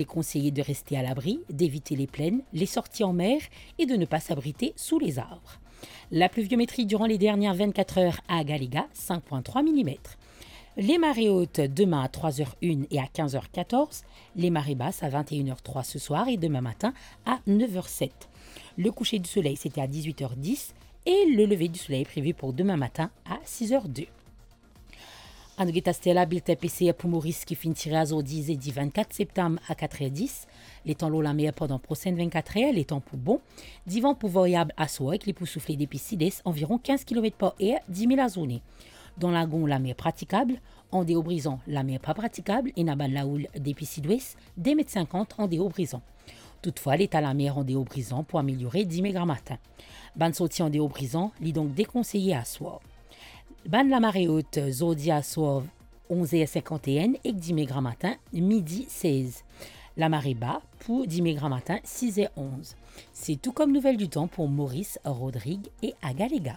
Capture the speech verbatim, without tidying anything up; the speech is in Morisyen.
est conseillé de rester à l'abri, d'éviter les plaines, les sorties en mer et de ne pas s'abriter sous les arbres. La pluviométrie durant les dernières vingt-quatre heures à Galiga, cinq point trois millimètres. Les marées hautes demain à trois heures une et à quinze heures quatorze, les marées basses à vingt et une heures trois ce soir et demain matin à neuf heures sept. Le coucher du soleil, c'était à dix-huit heures dix et le lever du soleil est prévu pour demain matin à six heures deux. Anou get aster la biltin P C R pou Moris ki finn tire azordi, zedi vennkat septam, a kat er dis. Letan lor lamer pandan prosenn vennkat er, letan pou bon. Divan pou variab aswar ek li pou soufle depi sid-es, anviron kinz kilomet par er, dimi lazourne. Dan Lagon, lamer pratikab. Andeor Brizan, lamer pa pratikab, ena bann laoul depi sidwes, de met sinkant andeor Brizan. Toutfwa, leta lamer andeor Brizan pou ameliore dime gramatin. Bann sorti andeor Brizan, li donk dekonseye aswar. Bann lamare ot, zordi aswar, onz er sinkant-e-enn, ek dime gramatin, midi sez. Lamare ba pou dime gramatin, siz er onz. Se tou kom nouvel ditan pou Moris, Rodrig e Agalega.